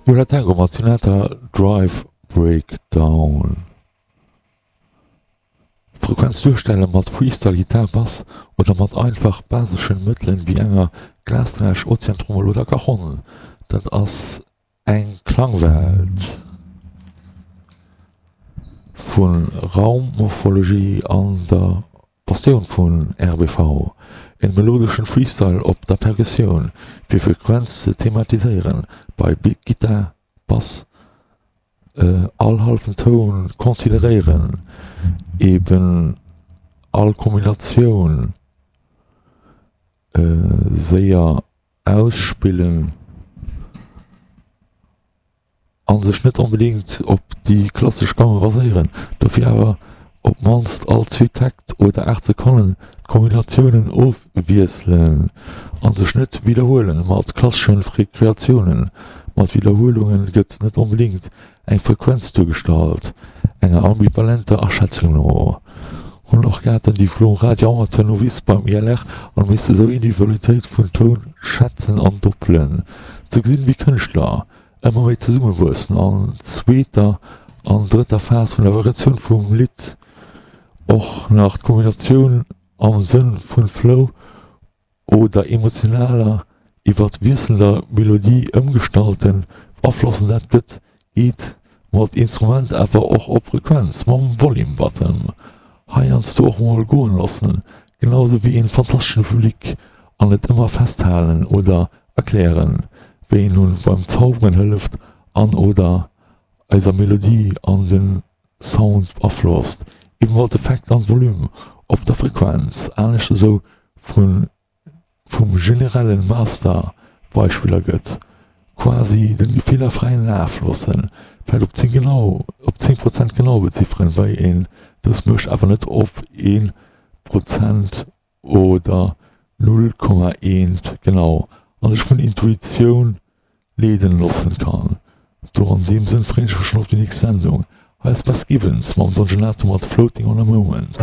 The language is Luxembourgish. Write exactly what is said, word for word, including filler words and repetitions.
Yo La Tengo mat Sinatra Drive Breakdown. Frequenz duerstelle mat Freestyle Gittar, Bass oder mat einfach baseschen Mëttelen wéi enger Glasfläsch, Ozeantrommel oder Cajon. Dat ass eng Klangwelt vu Raummorphologie an der Passioun vun R B V. En melodeschen Freestyle op der Perkussioun fir Frequenz ze thematiséieren bei Gittar, Bass, all hallwen Toun consideréieren, eben all Kombinatioun séier ausspillen a sech net onbedéngt op déi klassesch Gamme baséieren, dofir awer op d'mannst all zwee Täkt oder aacht Sekonnen d'Kombinatiounen ofwiesselen a sech net widderhuelen mat klasseschen Rekreatiounen. Mat Widderhuelunge gëtt net onbedéngt eng Frequenz duergestallt, enger ambivalenter Aschätzung no hunn och gehat den Diplom Radio-Amateur Novice beim I L R an misste sou Individualitéit vun Toun schätzen an doppelen. Ze gesinn wéi Kënschtler ëmmer méi zesummewuessen an zweeter an drëtter Phas vun der Variatioun vum Lidd och nach d'Kombinatioun am Sënn vun Flow oder emotionaler iwwer wiesselnder Melodie ëmgestalten beaflossen. Dat gëtt geet mat Instrument awer och op Frequenz mam Volume Button heiansdo och mol goen loossen, genau sou wéi een fantasteschen Public an net ëmmer festhalen oder erklären, wéi een nun beim Zauberen hëlleft an oder eiser Melodie an den Sound beaflosst, eben mat Effekt an Volume op der Frequenz anescht esou vun vum generellen Master Beispiller gëtt, quasi den Gefiller fräien Laf loossen, vläit op zéng genau op zéng Prozent genau bezifferen, wei een dës mécht, awer net op een Prozent oder null Komma eent genau, a sech vun Intuitioun leeden loossen kann. Do an deem Sënn freen ech mech schon op déi nächst Sendung. Hei ass Beth Gibbons mam Don Gelato mat Floating on a Moment.